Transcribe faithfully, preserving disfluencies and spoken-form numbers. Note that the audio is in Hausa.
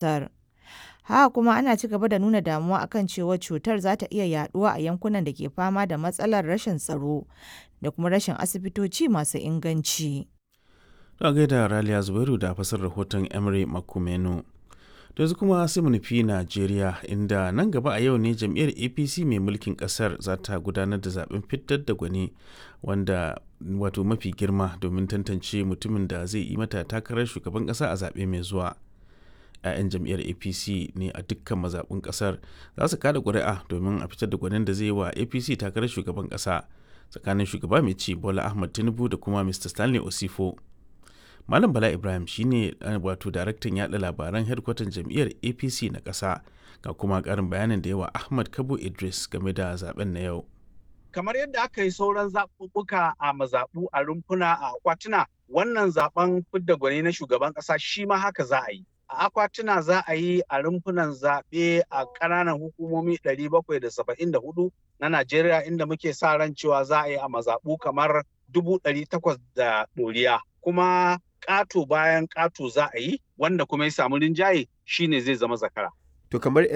Ƙasar. Haka kuma ana ci gaba da nuna damuwa akan cewa cutar za ta iya yaduwa a yankunan da ke fama da matsalar rashin tsaro da kuma rashin asibitoci masu inganci. To a gaida Raliya Zubairu da fasar rahoton Emery Makumenu. To yanzu kuma sai mu nufi Najeriya, inda nan gaba a yau ne jam'iyyar A P C mai mulkin kasar za ta gudanar da zaben fitar da gwani wanda wato mafi girma domin tantance mutumin da zai yi mata takarar shugaban kasa a zaɓe mai zuwa. 'Ya'yan jam'iyyar A P C ne a dukkan mazaɓun ƙasar za su kada ƙuri'a domin a fitar da gwanin da zai yi wa A P C takarar shugaban ƙasa tsakanin shugaba mai ci Bola Ahmad Tinubu da kuma Mister Stanley Osifo. Malam Bala Ibrahim shine wato daraktan yada labaran hedkwatan jam'iyyar A P C na ƙasa, ga kuma ƙarin bayanin da yawa Ahmad Kabo Idris game da zaben na yau. Kamar yadda aka yi sauran zaɓuɓɓuka a mazaɓu, a rumfuna, a akwatuna, wannan zaɓen fidda gwani na shugaban ƙasa shi ma haka za a yi. A akwatuna za a yi, a rumfunan zaɓe a ƙananan hukumomi ɗari bakwai da saba'in da huɗu na Najeriya, inda muke sa ran cewa za a yi a mazaɓu kamar dubu ɗari takwas da ɗoriya. Kuma ƙato bayan ƙato za a yi, wanda kuma ya samu rinjaye shine zai zama zakara. To kamar